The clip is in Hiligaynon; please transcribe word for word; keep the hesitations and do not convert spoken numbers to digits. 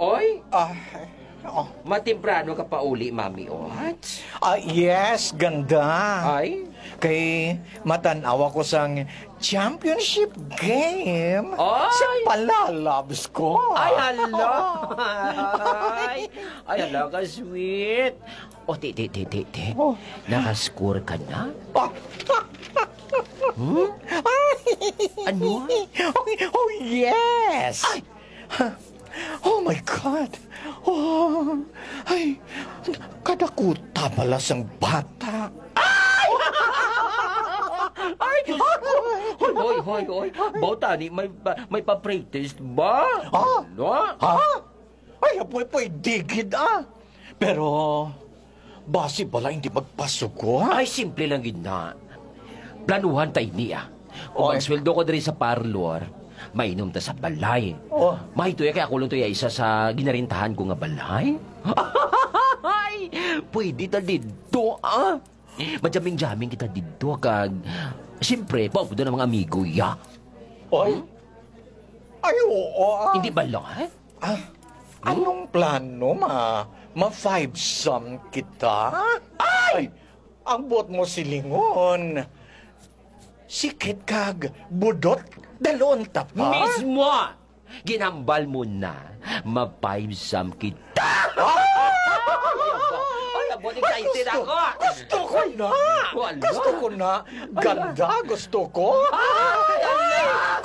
Oy, Ah, oh. Matemprano ka pa uli, Mami Ot? Ah, yes, ganda. Ay? Kay matan-aw ako sang championship game Ay! Sa palalabs ko. Ay, hala! Ay, ay, hala ka, sweet. O, ti, ti, ti, ti, ti. Oh. Nakascore ka na? Oh. Hmm? Ano? Oh, oh, yes! Ay! Oh my God! Oh, ay, kadakuta pala sang bata. Ay! Ay, Diyos ko! Hoy, hoy, hoy, hoy. Baw tani, may pa, may pa-practice ba? Ah? Ano? Ha? Ay, apoy-poy, digid, ah. Pero, basi bala hindi magpasugo, ha? Ay, simple lang gid na. Planuhan ta ini, ah. Kung Oy. magsweldo ko diri sa parlor, mainom ta sa balay. Oh. Mahito ya kay ako lang to ya isa sa ginarintahan ko nga balay. Ay, pwede ta didto, ah. Majamming-jamming kita didto, kag, siyempre, paupudo ng mga amigo, ya. Oy. Hmm? Ay, oo, ah. Hindi ba, Lord? Ah, Hmm? anong plano, ma? Ma-five-some kita? Ay! Ay! Ang buot mo silingon. Sikit kag budot, dalon ta pa? Mismo! Ginhambal mo na, ma-five-some kita. Ay, abo, excited Gusto, ako. gusto ko na. Wala. Gusto ko na. Ganda, gusto ko. Ay, ala.